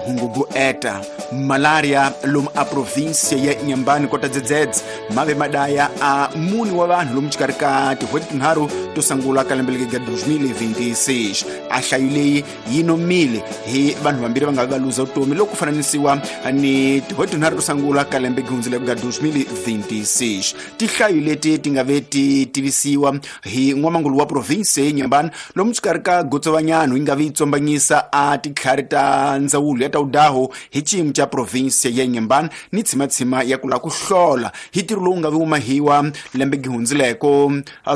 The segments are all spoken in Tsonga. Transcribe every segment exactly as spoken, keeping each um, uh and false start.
Hungugueta malaria lomu a província ya Inhambane kota dzedzedze mave madaya a muni wa vanhu lomu xikarhi ka tin'hweti tinharhu to sungula ka lembe leri ga twenty twenty-six. A hlayo leyi yi nomile hi vanhu vambirhi va nga va luza vutomi loko ku fananisiwa ni tin'hweti tinharhu to sungula ka lembe gihundzile ga twenty twenty-six. Tihlayo leti ti nga ve ti tivisiwa hi n'wamangulu wa província ya Inhambane lomu xikarhi ka Gotsovanyano yi nga vi tsombanyisa a titlhari ta ndzawulo ya ta udaho hi xiyimo xa província ya Inhambane ni tshimatshima ya ku lava ku hlola hi ntirho lowu nga vi wumahiwa lembe gihundzileko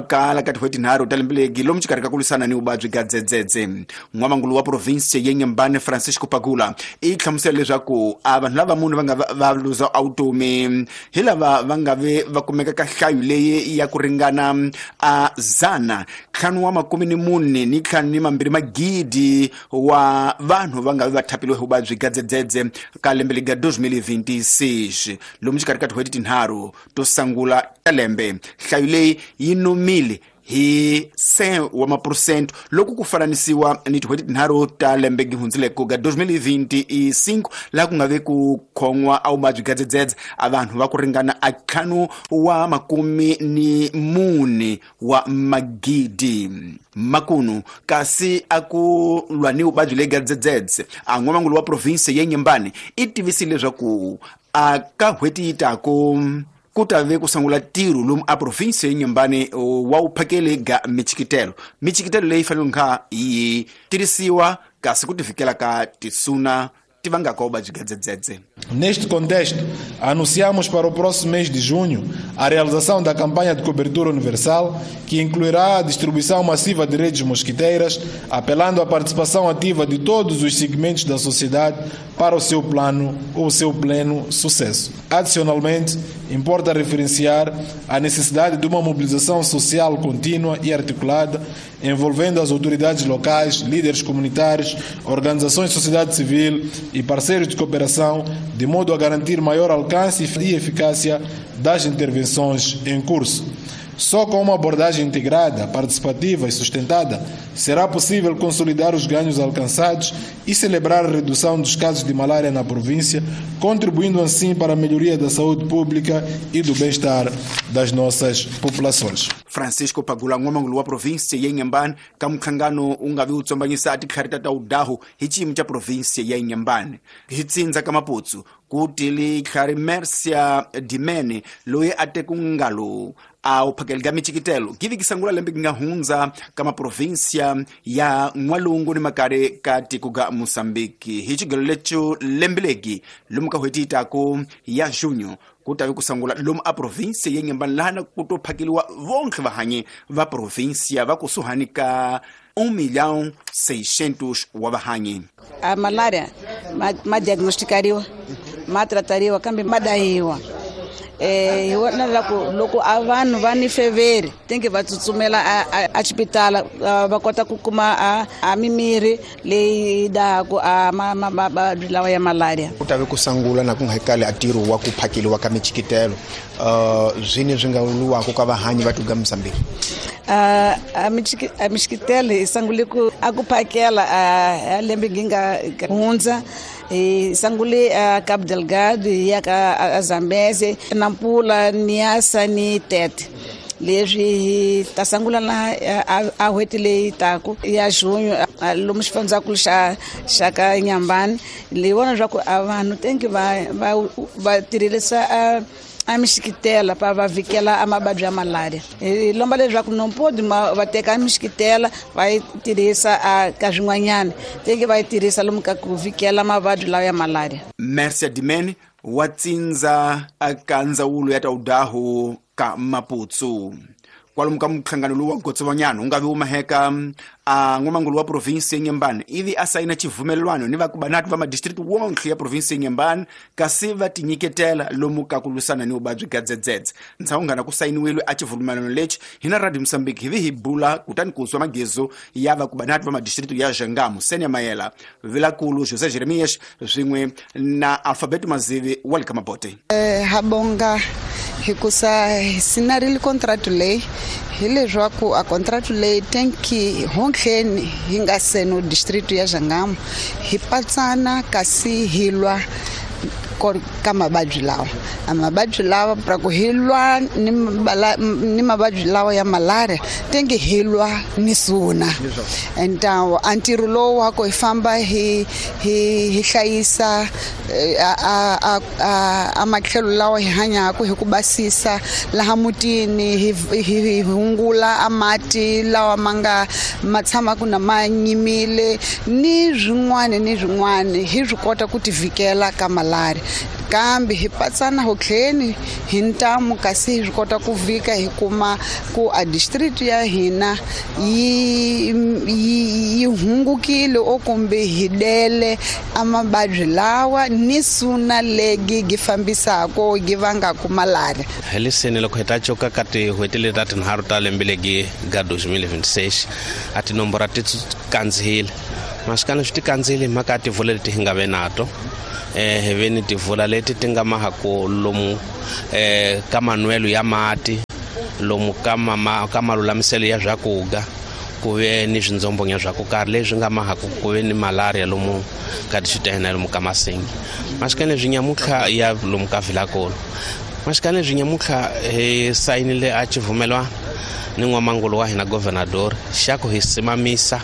kala ka tin'hweti tinharhu ta lembe legi lomu xikarhi ka ku lwisana ni vuvabyi bya dzedzedze. N'wamangulu wa província ya Inhambane Francisco Pagula i hlamusela leswaku a vanhu lava munhu va nga va luza vutomi hi lava va nga ve va kumeka ka nhlayo leyi ya ku ringana a zana ntlhanu wa makume ni mune ni ntlhanu ni mambirhi magidi wa vanhu va nga ve va thapiliwe hi vuvabyi bya dzedzedze ka lembe lega twenty twenty-six lomu xikarhi ka tin'hweti tinharhu to sungula ta lembe. Nhlayo leyi yi nomile hi cent wa maphurosente loko ku fananisiwa ni tin'hweti tinharhu ta lembe gihundzileko ga twenty twenty-five laha ku nga ve ku khon'wa a vuvabyi bya dzedzedze a vanhu va ku ringana a ntlhanu wa makume ni mune wa magidi makunu. Kasi a ku lwa ni vuvabyi lebya dzedzedze a n'wamangulu wa province ya Inhambane i tivisile leswaku a ka n'hweti yi taku ku ta ve ku sungula ntirho lomu a province ya Inhambane wa wu phakele ga michikitelo. Michikitelo leyi fanele kha yi tirhisiwa kasi ku tivikela ka tisuna ti vangaka vuvabyi bya dzedzedze. Neste contexto, anunciamos para o próximo mês de junho a realização da campanha de cobertura universal, que incluirá a distribuição massiva de redes mosquiteiras, apelando à participação ativa de todos os segmentos da sociedade para o seu plano ou o seu pleno sucesso. Adicionalmente, importa referenciar a necessidade de uma mobilização social contínua e articulada, envolvendo as autoridades locais, líderes comunitários, organizações de sociedade civil e parceiros de cooperação, de modo a garantir maior alcance e eficácia das intervenções em curso. Só com uma abordagem integrada, participativa e sustentada será possível consolidar os ganhos alcançados e celebrar a redução dos casos de malária na província, contribuindo assim para a melhoria da saúde pública e do bem-estar das nossas populações. Francisco Pagula n'wamangulu wa província ya Inhambane ka mhlangano wu nga vi wu tsombanyisa titlhari ta udaho hi xiyimo xa província ya Inhambane. Hi tsindza ka Maputsu ku tile tlhari Mercia Dimene loyi a teku ngalo a wu phakeli ka michikitelo givi kisangula lembe ki nga hundza ka maprovinsia ya N'walungu ni makare ka tiko ga Mozambique. Hi xigelo lecho lembe legi lomu ka n'hweti yi taku ya junho ku ta ve ku sungula lomu a provinsia ya Inhambane laha ku to phakeliwa vonke vahanyi va provinsia va kusuhani ka um milhão seiscentos wa vahanyi. A malária ma, ma diagnosticariwa ma tratariwa kambe ma dahiwa. Eh hi vona loko loko a vanhu va ni feveri tinge va tsutsumela a a xipitala va kota ku kuma a a mimirhi leyi daku a mavabyi lawa ya malaria. Ku ta ve ku sungula na ku nga kale a ntirho wa ku phakeliwa ka michikitelo uh zwine swi nga luwaka ka vahanyi va tuga Mozambique. A a michikitelo hi sungule ku a ku phakela a lembe ngi nga hundza. Hi sungule a Cabo Delgado hi ya ka Zambeze, Nampula, Niassa ni Tete. Leswi hi ta sungula na a n'hweti leyi taku ya junho lomu xifundzankulu xa xa ka Inhambane. Leyi vona leswaku a vanhu tenki va va va tirhisa a a mixikitela pa va vikela a mavabyi ya malaria. Hi lomba leswaku nompodi va teka a mixikitela va yi tirhisa a ka swin'wanyana teke va yi tirhisa lomu ka ku vikela mavabyi lawa ya malaria. Mercia Dimene wa tsindza ka ndzawulo ya ta udaho ka Maputsu. Kwalomu ka mhlangano lowu wa Gotsovanyano wu nga vi wu maheka a n'wamangulu wa province ya Inhambane ivi a sayina xivumelwano ni vakubanati va madistrict wonke ya province ya Inhambane kasi va tinyiketela lomu ka ku lwisana ni vuvabyi bya dzedzedze. Ntshawungana ku sayiniwile a xivumelwano lexi hina Radio Mozambique hi vi hi bula kutani ku zwa magezo ya vakubanati va madistrict ya Jangamo, Senia Mayela, Vilakulu José Jeremias swin'we na Alphabet Mazivi wa le ka Mabote. Eh habonga hikusa sinarile contract leyi hileswaku a contract leyi tenki honke tlheni hi nga seno district ya Jangamo hi patsana kasi hi lwa ka mavabyi lawa a mavabyi lawa pra ku hi lwa ni ni mavabyi lawa ya malaria tenge hi lwa ni suna então a ntirho lowu wa ku hi famba hi hi hi hlayisa a a a matlhelo lawa hi hanyaka hi ku basisa laha mutini hi hi hungula a mati lawa ma nga ma tshamaka na ma nyimile ni swin'wana ni swin'wana hi swi kota ku tivikela ka malaria kambe hi patsana ho tlheni hi ntamu kasi hi swi kota ku vika hi kuma ku a district ya hina yi yi hungukile o kumbe hi dele a mavabyi lawa ni suna legi gi fambisako gi vangaka malaria. Hi leseni loko hi ta coka ka tin'hweti leti ta tinharhu ta lembe legi ga twenty twenty-six a tinomboro ti kandzihile masikana swi ti kandzihile hi mhaka ya tivula leti hi nga ve nato eh hi ve ni tivula leti ti nga mahaku lomu eh ka manwelo ya mati lomu ka mama ka malulamiselo ya swakudya ku ve ni swindzombonya swa ku karhi leswi nga mahaku ku ve ni malaria lomu ka tixitena lomu ka Masingi masikana leswi nyamutlha ya lomu ka Vilakolo masikana leswi nyamutlha hi sayinile a xivumelwano ni n'wamangulu wa hina governador xa ku hi simamisa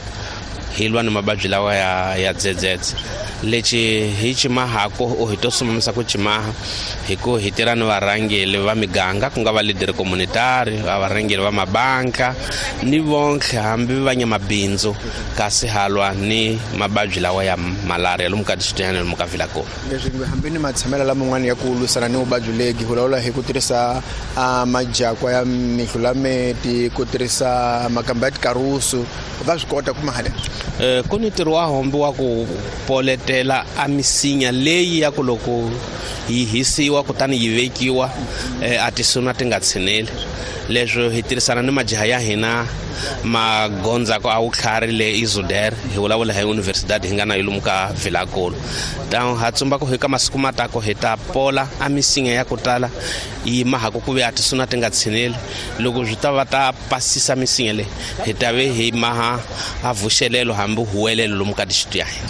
hi lwa ni mavabyi lawa ya ya dzedzedze lexi hi ximahako o hi to simamisa ku ximaha hi ku hi tirha ni varhangeli va miganga ku nga va leader communitary va varhangeli va mabanka ni vonke hambi va nyamabindzu kasi halwa ni mavabyi lawa ya malaria lomu ka district lomu ka Vilakolo. Leswi hambi ni matshamelo laman'wana ya ku lwisana ni vuvabyi legi vulavula hi ku tirhisa majakwa ya mihlulameti ku tirhisa makamba ya tikarusu va swi kota ku mahala eh ku ni ntirho wa hombi wa ku poletela a misinya leyi ya ku loko yi hisiwa kutani yi vekiwa a tisuna ti nga tshineli leswo hi tirhisana ni majaha ya hina magondzako a wutlhari le Izuder hi vulavula hi universidade hi nga na lomu ka Vilakolo ta ha tsumba ku hi ka masiku matako hi ta pola a misinya ya ku tala yi mahaku ku ve a tisuna ti nga tshineli loko swi ta va ta pasisa misinya leyi hi ta ve hi maha a vuxelelo hambi huwelelo lomu ka district ya hina.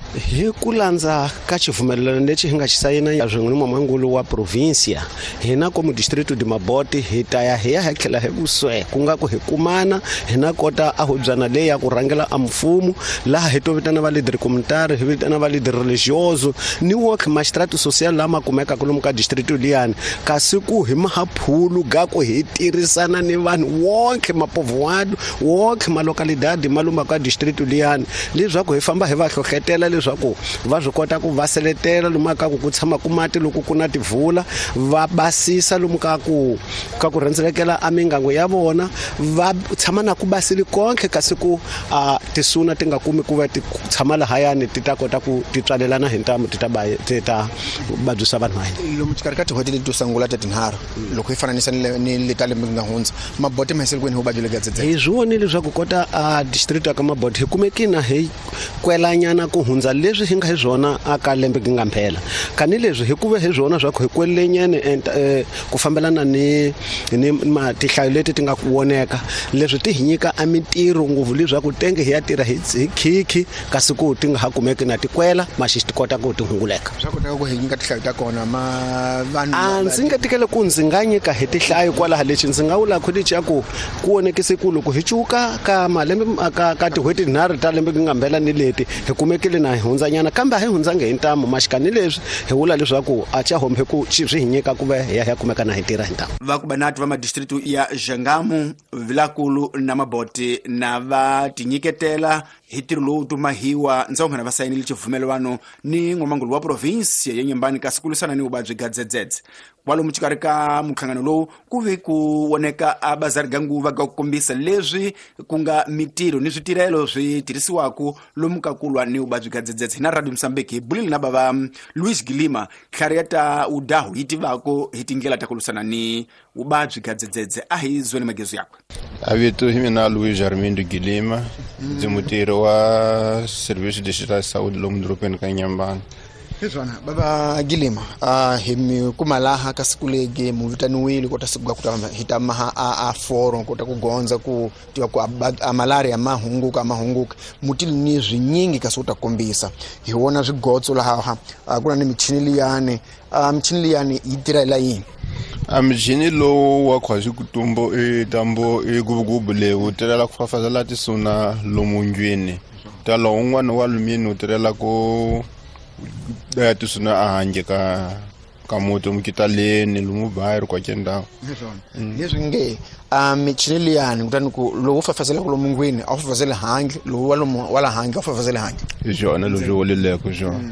Hi ku landza ka xivumelwano lexi hi nga xi sayina swin'we ni n'wamangulu wa provincia hina komu distrito de Mabote hi ta ya hi ya hi tlhela hi vuswe ku nga ku hi kumana hina kota a hubyana leyi ya ku rhangela a mfumo laha hi to vitana va leader communitary hi vitana va leader religioso ni work magistrato social lama kumekaka lomu ka distrito liyani kasi ku hi mahaphulu ga ku hi tirhisana ni vanhu wonke mapovoado wonke malocalidade maluma ka distrito liyani leswaku hi famba hi va hlohletela leswaku va swi kota ku va seletela lomu ka ku ku tshama ku mati loko ku na tivula va basisa lomu ka ku ka ku rhendzelekela a mingango ya vona va tshama na ku basile konke kasi ku a tisuna ti nga kumi ku va ti tshama lahayani ti ta kota ku ti tswalelana hi ntamu ti ta ti ta vabyisa vanhu va hina. Lomu xikarhi ka tin'hweti leti to sungula ta tinharhu loko hi fananisa ni le ta lembe nga hundza Mabote ma hisele kwini hi vuvabyi lebyi dzedzedze hi swi vonile leswaku kota a district ya ka Mabote hi kumekina hi kwelanyana ku hundza leswi hi nga hi swona aka lembe gi nga mphela kani leswi hi kuve hi swona swa ku hi kwelenyene ku fambelana ni ni matihlayo leti ti nga ku voneka leswi ti hi nyika a mintirho ngopfu leswaku tenge hi ya tirha hi khikhi kasi ku ti nga ha kumeki na tikwela maxi ti kota ku ti hunguleka swa kotaka ku hi nyika tihlayo ta kona ma vanhu a ndzi nga tikele ku ndzi nga nyika hi tihlayo kwalaha lexi ndzi nga vula ku lexi ya ku ku vonekise ku loko hi cuka ka malembe ka ka tin'hweti tinharhu ta lembe gi nga mphela ni leti hi kumekile na hi hundzanyana kambe a hi hundzange hi ntamu maxikani leswi hi vula leswaku a xa hombe ku swi hi nyika ku va hi ya hi ya kumeka na hi tirha hi ntamu. Va ku banati va madistritu ya Jangamo Vilakulu na Mabote na va tinyiketela hi ntirho lowu tumahiwa ndzawunghana va sayinile xivumelwano ni n'wamangulu wa provinsia ya Nyembani kasi ku lwisana ni vuvabyi bya dzedzedze kwalomu xikarhi ka minhlangano lowu ku ve ku voneka a bazari ga nguva ga ku kombisa leswi ku nga mitirho ni switirhelo swi tirhisiwaka lomu ka ku lwa ni vuvabyi bya dzedzedze hina Radio Mozambique hi bulile na bava Luis Gilima tlhari ya ta udahu yi tivako hi tindlela ta ku lwisana ni vuvabyi bya dzedzedze a hi zweni magezu yakwe. A vito hi mina Luis Armindo Gilima ndzi mutirhi wa Serviço Distrital de Saúde lomu dorobeni ka Nyembani. Hiswona baba Gilima a hi mi kuma laha ka siku legi mu vitaniwile kota siku ga kuta hi ta maha a a forum kota ku gondza ku tiva ku a malaria ma hunguka ma hunguka mutili ni zwinyingi kasi u ta kombisa hi wona swigotso laha ku na ni michini liyani a michini liyani yi tirha la yini a michini lowu wa khwazi kutumbo e tambo e gubugubu le wu tirhela ku fafazela tisuna lomu ndlwini ta lowu un'wana wa alumini wu tirhela ku ya tisuna a handle ka ka muti mukitaleni lomu bayiri kwake ndhawu leswi nge a michini liyani kutani ku lowu fafazelaka lomu ndlwini a wu fafazeli handle lowu wa lomu wa la handle a wu fafazeli handle hi swona leswi woleleko swona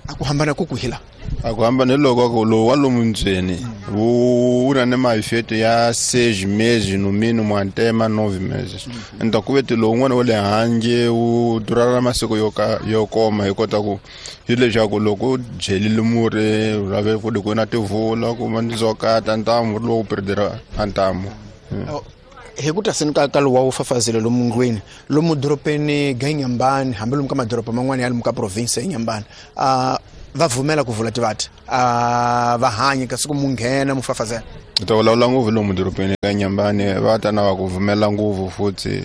a ku hambana ku kuhila a ku hambana hi loko ku lowu wa lomu ndzeni wu na ni maifeto ya seis meses no mínimo até ma nove meses enta ku veti lowu un'wana wa le handle wu durala masiku yo ka yo koma hi kota ku hi leswaku loko u dyelile murhi u lave ku ku na tivula kuma ndzokata ntamu lowu perdera ntamu hi ku ta seni ka ka lowu wa wu fafazela lomu ndlwini lomu doropeni ga Inhambane hambi lomu ka madoroba man'wana ya lomu ka province ya Inhambane a va vumela ku vula tivati a va hanya kasi ku mu nghena mu fafazela ta vulavula ngopfu lomu doropeni ka Inhambane va ta na va ku vumela ngopfu futhi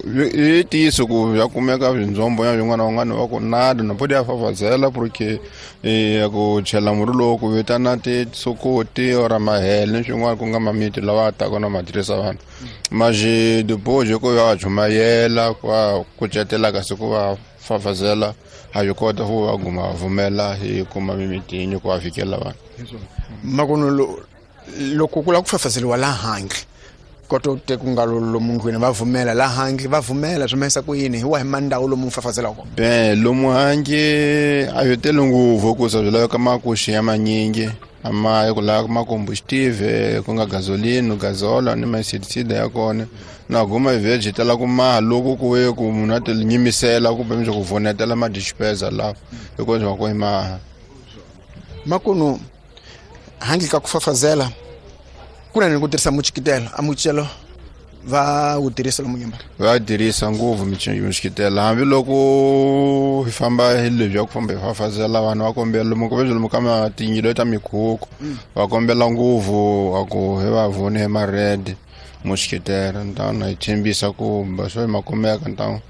i ntiyiso ku ya kumeka swindzombo ya swin'wana van'wana va ku nada na podi ya fafazela porque ya ku chela murhi lowu ku vitana tisokoti or mahele ni swin'wana ku nga mamiti lawa taka na ma tirhisa vanhu maje depois ku ya chumayela ku va kucetela kasi ku va fafazela a yi kota ku va guma vumela hi kuma mimitini ku va fikela vanhu makuno loko ku lava ku fafazeliwa la handle koto te ku nga lomu ndlwini va vumela la handle va vumela swi mahisa ku yini hi wahi mandhawu lomu fafazelaka kona ben lomu handle a yo tele ngopfu ku sa swi laveka makuxi ya manyingi ama ku lava ma combustible ku nga gasoline gasola ni ma-insecticide ya kona na guma veg tala ku maha loko ku ve ku munhu a ti nyimisela kumbe mi ku vonetela ma dispenser laha hikuva swi va ku i maha makunu handle ka ku fafazela ku na ni ku tirhisa muchikitelo a muchikitelo va wu tirhisa lomu Inhambane va tirhisa ngopfu muchikitelo hambiloko hi famba hi lebyi ya ku famba hi fafazela vanhu va kombela lomu ku lomu ka matinyilo ta mikhukhu va kombela ngopfu a ku hi va vone hi ma-red muchikitelo ntawna hi tshembisa ku swo ma kumeka ntawu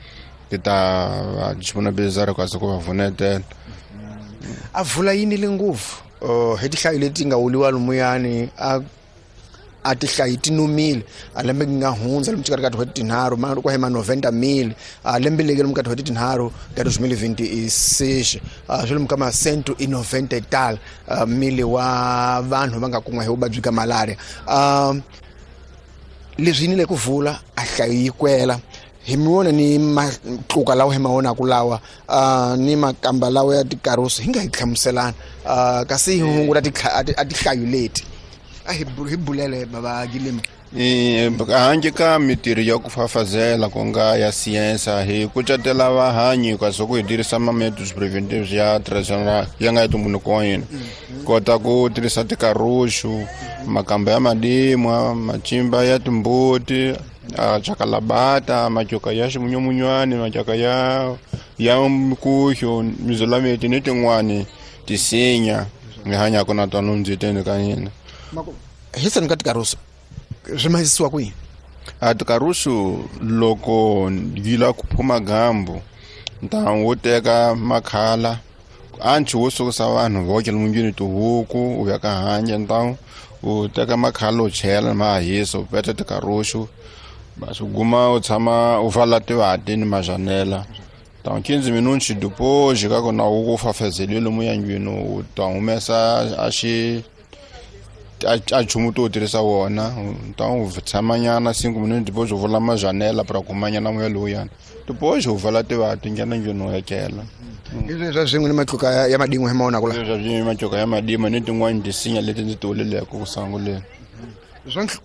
ti ta va disponibilizar kasi ku va vunetela a vula yini le ngopfu hi tihlayo leti nga wuliwa lomuyani a a tihlayi ti numile a lembe nga hundza lomu xikarhi ka tin'hweti tinharhu ma ku hema noventa mil a lembe leke lomu ka tin'hweti tinharhu ka dos mil vinte e seis swi lomu ka ma cento e noventa e tal mili wa vanhu va nga kun'wa hi vuvabyi ka malaria leswi yini le ku vula a hlayo yi kwela hi mi wona ni matluka lawa hi ma vonaku lawa ni makamba lawa ya tikarusi hi nga hi hlamuselana kasi hi hunguta a tihlayo leti a hi bulele baba Gilima handle ka mitirho ya ku fafazela ku nga ya siyensa hi kucetela vahanyi kasi ku hi tirhisa ma-methods preventives ya traditional ya nga ya ntumbuluko wa hina kota ku tirhisa tikaruxu makamba ya madimwa macimba ya timbuti chakalabata matyoka ya ximunyamunywani matyoka ya ya mikuxo mizulameti ni tin'wani tisinya hi hanyaka na tona ndziteni ka hina hi seni ka tikarusu swi mahisiwa kwihi a tikarusu loko yi lava ku phuma gambu ntamu wo teka makhala anchi wo sukusa vanhu voke lomunjini tihuku u ya ka handle ntamu u teka makhala u chela ma hisa u peta tikarusu basi guma u tshama u vala tivati ni majanela Então, quinze minutos depois, ka na u fafazeliwe lomu yandlwini u ta humesa a xi a nchumu to tirhisa wona então u tshamanyana cinco minutos depois u vula majanela para kumanyana moya lowuyana depois u vala tivati nghena ndlwini u etlela leswi swa swin'we ni matluka ya madin'we hi ma vonaka la leswi swin'we matluka ya madin'we ni tin'wani tisinya leti ndzi ti vuleleke ku sunguleni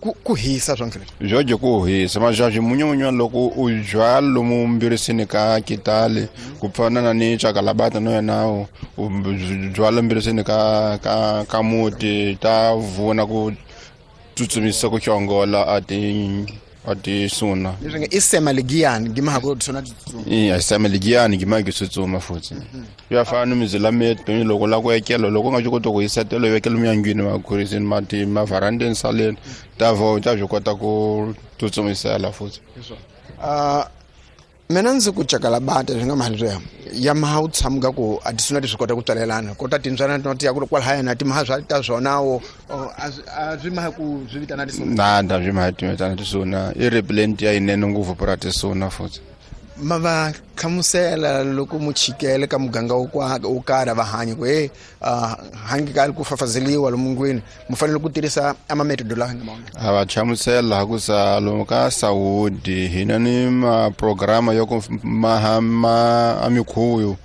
ku ku hisa swa byo dye ku hisa majaji munyumunyu loko u byala lomu mbirisini ka kitale ku fana na ni chakalabata no yena u byala mbirisini ka ka ka muti ta vona ku tsutsumisa ku xongola a ti a tisuna leswi nge i sema ligiyani gima ha ku tisuna tsutsuma i sema ligiyani gima ku tsutsuma futhi ya fana mizila metu loko la ku ekela loko nga kota ku yisetelo vekela miyangwini makhurisini mati mavarandeni saleni ta vo ta byi kota ku tsutsumisela futhi ah mina ndzi ku cakala bata swi nga mali ya ya maha u tshamuka ku a tisuna ti swi kota ku tswalelana kota timbyana ti ya ku kwalahaya na timaha swa ta swona wo a swi maha ku swi vitana tisuna na nda swi maha ti vitana tisuna i repellent ya yinene ngopfu pura tisuna futhi ma va hlamusela loko muchikele ka muganga wo wo karhi va hanya ku e hangi ka ku fafazeliwa lomungwini mu fanele ku tirhisa ama metodo lawa nga maona a va hlamusela ku sa lomu ka Saudi hina ni ma programa yo ku maha ma amikhuyu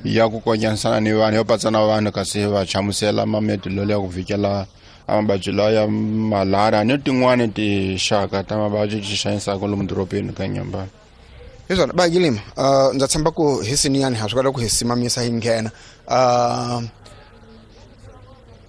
ya ku konyanisana ni vanhu yo patsana vanhu kasi va hlamusela ma metodo ya ku vikela amabadyi lawa ya malaria ni tin'wani tinxaka ta mavabyi ti xanisaka lomu dorobeni ka Nyambani. Hiswona ba Gilima uh ndza tshemba ku hi siniyani ha swi kota ku hi simamisa hi nghena uh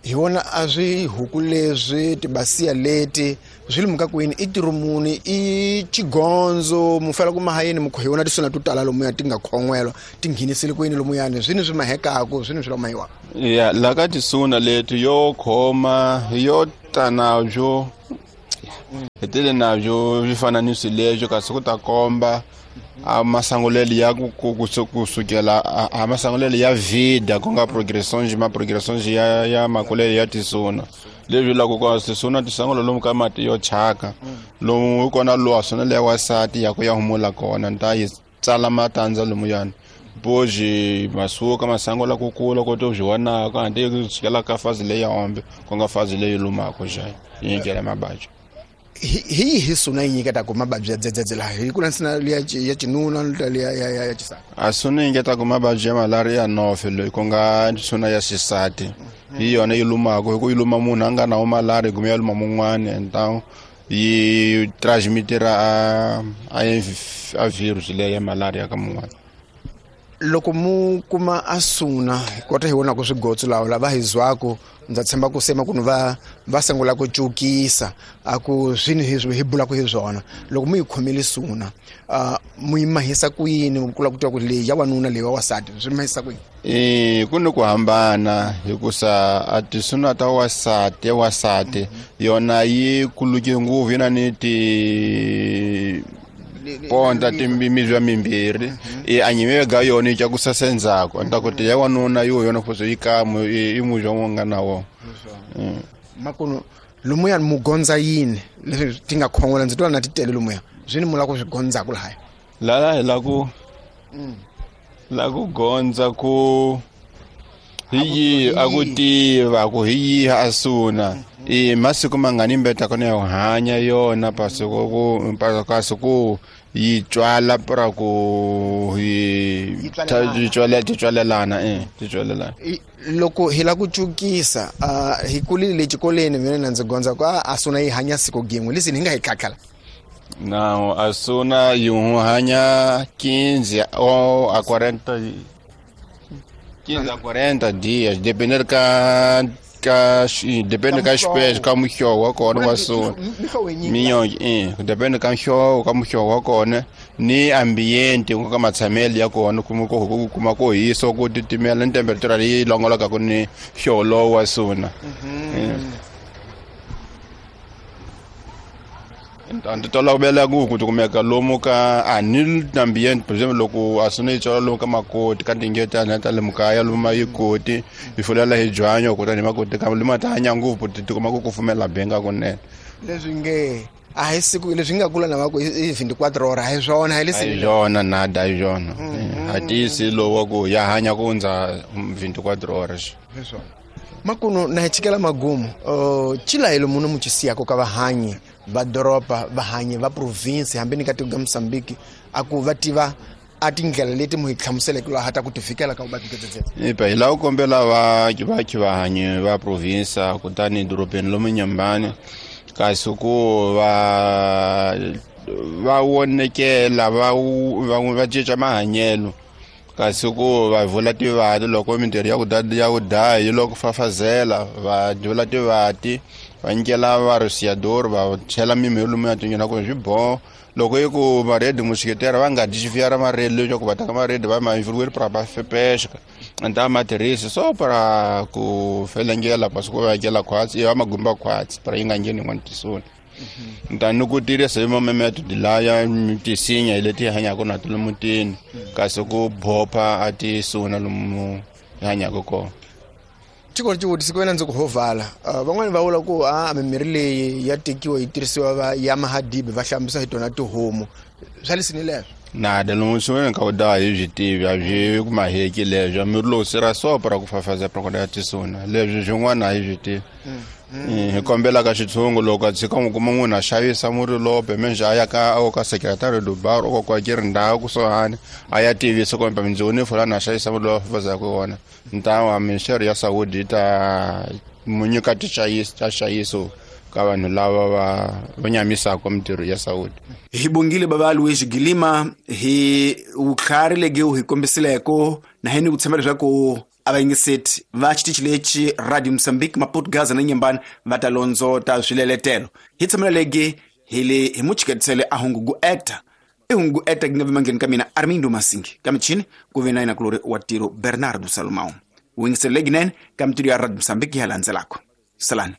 hi vona a swi huku leswi tibasiya leti swi limuka kwini i tirumuni i chigonzo mu fela ku mahayeni mukho hi vona tisuna to tala lomuya ti nga khon'welwa ti nghenisile kwini lomuyani swini swi mahekaku swini swi lomayiwa ya la ka tisuna leti yo khoma yo tana byo hetele nabyo swi fana ni swileswo kasi ku ta komba a masangulelo ya ku ku kusukela a masangulelo ya vida ku nga progression ma progression ya ya makulelo ya tisuna leswi la ku ka tisuna tisangulo lomu ka mati yo chaka lomu kona lo sona le wasati ya ku ya humula kona nta yi tsala matandza lomu yana boji masuka masango la ku kula ko to zwiwana ka ande ku tshikela ka fazi leyi ya ombe ku nga fazi leyi lumako xa yi nyikela mabadyi hi hi suna yi nyiketa ku mabadyi ya dzedzedze laha hi ku landzela liya ya xinuna liya ya ya xisati a suna yi nyiketa ku mabadyi ya malaria nofe loyi ku nga suna ya xisati hi yona yi lumako hi ku yi luma munhu a nga na malaria kumbe ya luma mun'wani and yi transmitira a a virus leyi ya malaria ka mun'wani. Loko mu kuma a suna kota hi vona ku swigotso lawa lava hi zwako ndza tshemba ku sema ku va va sungula ku cukisa a ku swini hi hi bula ku hi swona loko mu yi khomile suna mu yi mahisa ku yini ku kula ku twa ku leyi ya wanuna leyi wa wasati swi mahisa ku yini? Eh ku ni ku hambana hikusa a tisuna ta wasati ya wasati yona yi kuluke ngopfu yi na ni ti ponta timimizwa mimbirhi e anyime ga yona yi kusasa ndzhaku nta ku ya wanuna yo yona futhi yi kamu i muzwa wo nga na wo makuno lumuya mugonza yini leswi ti nga khongola ndzi twa na titele lumuya swini mula ku swi gondza ku lahaya lala hi la ku la ku gondza ku hi yi a ku tiva ku hi yi a suna e masiku mangani mbeta kona ya hanya yona pasiko ku kasi ku yi tswala pra ku hi yi tswala ti tswalelana eh ti tswalelana loko hi la ku cukisa hi kulile xikolweni mina na ndzi gondza ku a suna yi hanya siku gin'we lesi ni nga hi tlhatlhala não a suna yi hanya quinze ou a quarenta quinze a quarenta dias dependendo ka ka depende ka espécie ka muhlovo wa kona wa suna minyonge eh depende ka muhlovo ka muhlovo wa kona ni ambiente ku ka matshamelo ya kona kuma ku kuma ku hisa ku titimela ni temperature leyi longoloka ku ni hlovo lowu wa suna nti tolovela ku ku kumeka lomu ka a ni ambiente por exemple loko a suna yi tswala lomu ka makoti ka tingetana ta le mukaya lomu ma yi koti yi fulela hi byanyo kutani makoti ka lima ta hanya ngopfu ti tikuma ku kufumela benga kunene leswi nge a hi siku leswi nga kula na va ku i twenty-four hora hi swona hi leswi hi swona nada hi swona a tiyisi lowa ku ya hanya ku hundza twenty-four horas hi swona makuno na hi chikela magumu chilayelo muno muchisiyako ka vahanyi va doroba vahanyi va province hambi ni ka tiko ga Mozambique a ku va tiva a tindlela leti mu hi hlamuseleke laha ta ku ti fikela ka vuvabyi bya ipa hi lava ku kombela va va vahanyi va province kutani dorobeni lomu Nyambani kasi ku va va vonekela va va cinca mahanyelo kasi ku va vula tivati loko mintirho ya ku ya ku daya yi loko fafazela va vula tivati Va nyikela varosiador va chela mimirhi lomu ya tinyona ku swi boho loko i ku maredi muxiketera va nga dyi xifiyara maredi leswaku va teka maredi va ma influir para va pesca nta ma tirhisi so para ku felengela pasi ku va hakela khwatsi va magumba khwatsi para yi nga ngheni yin'wana tisoni ntani ku tirhisa hi mamemetodi laya tisinya hi leti hi hanyaka na to lomu mutini kasi ku bopha a tisuna lomu hi hanyaka kona. Tiko ri xivutiso ku wena ndzi ku hovala van'wani va vula ku a mimirhi leyi ya tekiwa yi tirhisiwa va ya mahadibi va hlambisa hi tona tihomu swa lesini leswo nada lomu swi ka u da hi byi tivi a byi ku maheki leswo mirhi lowu sira so para ku fafaza para ya tisuna leswi swin'wana a hi byi tivi. Hi kombela ka xitshungu loko a tshika n'wi kuma munhu a xavisa murhi lowo menje a ya ka a ka secretary do bar o kwa ke ri ndhawu kusuhani a ya tivisa kumbe mindzoni fulani a xavisa murhi lowu fafazaka wona ntawa ministeri ya saúde yi ta mu nyika tixayiso ta xayiso ka vanhu lava va va nyamisaka mintirho ya saúde. Hi bongile baba Luis Gilima hi vutlhari legi hi kombisileko na hini ku tshemba leswaku a va yingiseti va xitichi lexi Radio Mozambique Maputo Gaza na Nyembani va ta londzota swileletelo. Hi tshamela legi hi le hi muchiketisele a hungu ku actor i hungu actor gi nga vimangeni ka mina Armindo Masingi ka michini ku ve na yena kulori wa tiro Bernardo Salomão. Wu yingisele leginene ka mintirho ya Radio Mozambique ya landzelako. Salani.